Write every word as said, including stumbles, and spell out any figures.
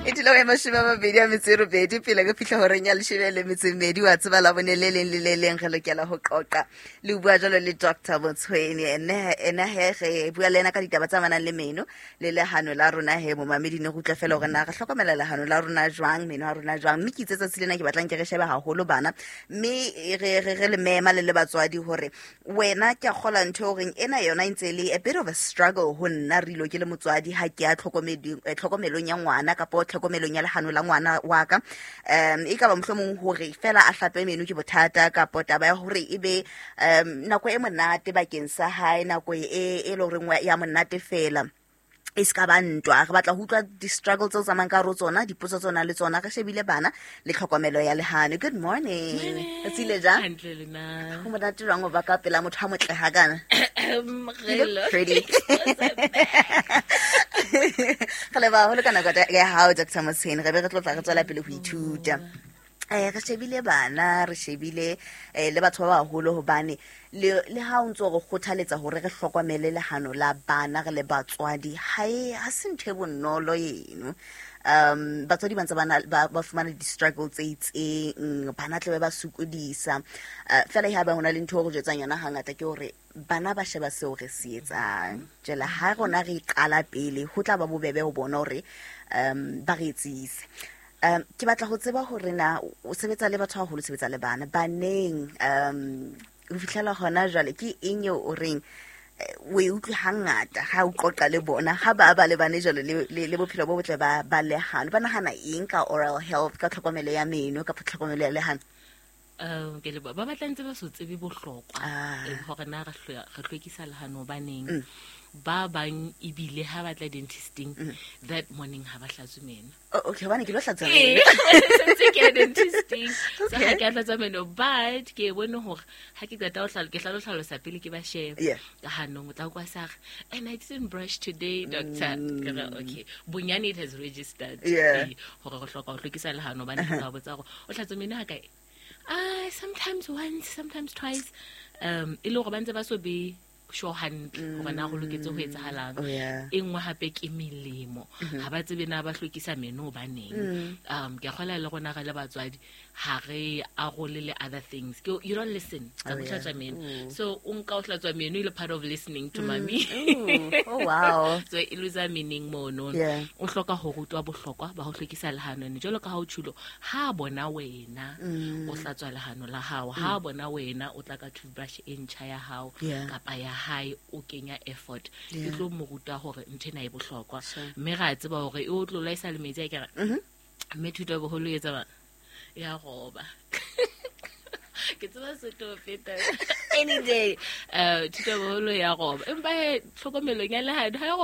E dula ya mashome a mabedi a metso e robedi pele re fihla horeng ya leshome le metso e mmedi. Wa tseba la bone le leng le le leng re lokela ho qoqa le ho bua jwalo le Doctor Motshweni. Ene ene he re bua le ena ka ditaba tse amanang le meno le lehano la rona. He momamedi, ne re utlwa fela hore na re hlokomela lehano la rona jwang, meno a rona jwang. Mme ke itse tsatsi lena ke batlang ke re shebe haholo bana, mme re re re le mema le le batswadi hore wena ke a kgola ntho e horeng ena yona e ntse e le a bit of a struggle ho nna re ilo ke le motswadi ha ke ya tlhokomedi- eh, tlhokomelong ya ngwana kapo tlhokomelong ya lehano la ngwana wa ka. um e ka ba mohlomong hore fela a hlape meno ke bothata, kapo taba ya hore e be um nako e monate bakeng sa hae, nako e e le horeng wa- ya monate fela e se ka ba ntwa. Re batla ho utlwa di-struggle tseo tsamayang ka hare ho tsona, dipotso tsona le tsona. Re shebile bana le tlhokomelo ya lehano. Good morning. Re tsile jang? Hantle, le na? Ho monate jwang ho ba ka pela motho a motle hakana? You look pretty. Re leboha haholo ka nako ya hao, Doctor Motshweni. Re be re tlo tla re tswela pele ho ithuta. um re shebile bana, re shebile um le batho ba baholo, hobane le le ha o ntso re kgothaletsa hore re hlokomele lehano la bana re le batswadi, ha e ha se ntho e bonolo eno. um batswadi ba ntse ba na- ba ba fumana di-struggle tse itseng, bana tlabe ba sokodisa. uh, fela ha ba hona le ntho e re jwetsang yona hangata ke hore bana ba sheba seo re se etsang. Jwale ha rona re qala pele, ho tla ba bobebe ho bona hore um ba re etsise. um ke batla ho tseba hore na o sebetsa le batho haholo, o sebetsa le bana baneng um ho fihlela hona jwale, ke eng eo o reng eh, o e utlwe hangata ha o qoqa le bona, ha ba ba lebane jwalo le, le, le bophelo bo botle ba, ba lehano? Ba nahana eng ka oral health, ka tlhokomelo ya meno kapa tlhokomelo ya lehano? um ke leboha. Ba batla ntse ba so tsebe bohlokwa Ah. eh, hore na re hlwe- re hlwekisa lehano hobaneng. Ba bang ebile ha ba tla dentisting that morning, ha ba hlatswe meno. Oh, okay, hobane ke lo hlatswa Ee, meno. Sentse ke ya dentisting, so Okay. ha ke a hlatswa meno, but ke e bone hore ha ke qeta ho hlalo- ke hlalo hlalosa pele ke ba shebe Yeah. ka hanong, o tla kwa sa re, "And I didn't brush today, doctor." Ke re, "Okay, bonyane it has registered." Yeah. Ee, hore re hloka ho hlwekisa lehano, hobane ke tla botsa hore o hlatswa meno ha kae. Ah, sometimes once, sometimes twice. um e le hore ba ntse ba so be sure hantle hore na go loketse ho etsahalang. Oh, yeah. E nngwe hape ke melemo, ha ba tsebe na ba hlwekisa meno hobaneng. um ke a kgola le rona re le batswadi ha re arole le other things. Ke you don't listen tsa Oh, ho yeah. hlatswa meno, so o nka o hlatswa meno e le part of listening to mommy. Ooh. Oh, wow. So e lose meaning mono. Yeah. O hloka ho rutwa bohlokwa ba ho hlwekisa lehano ene, jwalo ka ha o tjhulo, ha bona wena o hlatswa lehano la hao, ha bona wena o tla ka toothbrush e ntjha ya hao Yeah. kapa ya hae, o kenya effort, e Yeah. tlo mo ruta hore ntho ena e bohlokwa. Sure. Mme ra tseba hore e o tlo laisa le metsi a kere, mme thuto ya boholo e etsa bang ya roba. Ke tseba Sotho ho feta any day. uh thuto ya boholo ya roba, empa he tlhokomelong ya lehano ha e